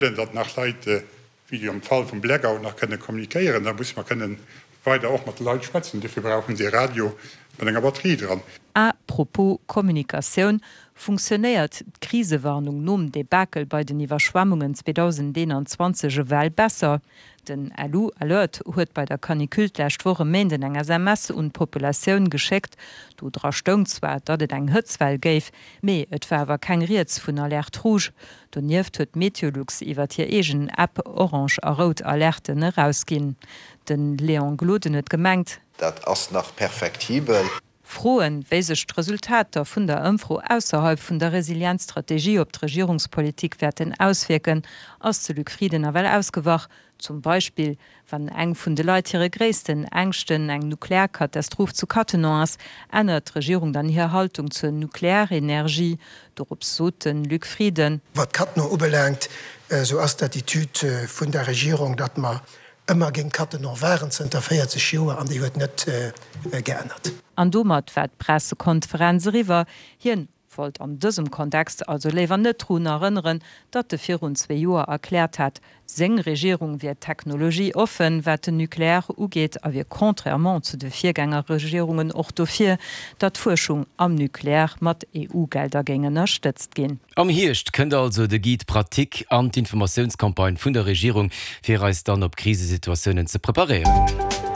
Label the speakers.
Speaker 1: Datt nach Leit, wéi am Fall vum Blackout, nach kënne kommunikéieren, da musse mer kënnen weider och mat de Leit schwätzen. Dofir brauche se e Radio mat enger Batterie dran.
Speaker 2: A propos Kommunikatioun, Funktionéiert d'Krisewarnung nom Debakel bei den Iwwerschwemmungen 2021 ewell besser? Den LU-Alert huet bei der Canicule d'lescht Woch e Méinden eng SMS un d'Populatioun geschéckt. Do dra stoung zwar, datt et eng Hëtzwell géif, mee et war awer keng Rieds vun Alerte rouge. Donieft huet Meteolux iwwert hir eegen App orange a rout Alerten erausginn. De Léon Gloden huet gemengt.
Speaker 3: Dat ass nach perfektibel.
Speaker 2: Froen, wéi sech d'Resultater vun der Ëmfro ausserhalb vun der Resilienzstrategie op d'Regierungspolitik wäerten auswierken, ass de Luc Frieden nawell ausgewach. Zum Beispill, wann eng vun de Leit hire gréissten Ängschten eng Nuklearkatastroph zu Cattenom ass, ännert d'Regierung dann hir Haltung zur Nuklearenergie? Dorops sot de Luc Frieden.
Speaker 4: Wat Cattenom ubelaangt, esou ass d'Attitude vun der Regierung, datt mer ëmmer géint Cattenom waren, zënter 40 Joer, an déi huet net geännert.
Speaker 2: An domat war d'Pressekonferenz eriwwer. Hien wollt an dësem Kontext also léiwer net drun erënneren, datt e virun zwee Joer erkläert hat, seng Regierung wier technologieoffen, wat den Nucléaire ugeet a wier contrairement zu de Virgängerregierungen och dofir, datt d'Fuerschung am Nucléaire mat EU-Gelder géing ënnerstëtzt ginn.
Speaker 5: Am Hierscht kënnt also de Guide pratique an d'Informatiounscampagne vun der Regierung, fir eis dann op Krisesituatiounen ze preparéieren.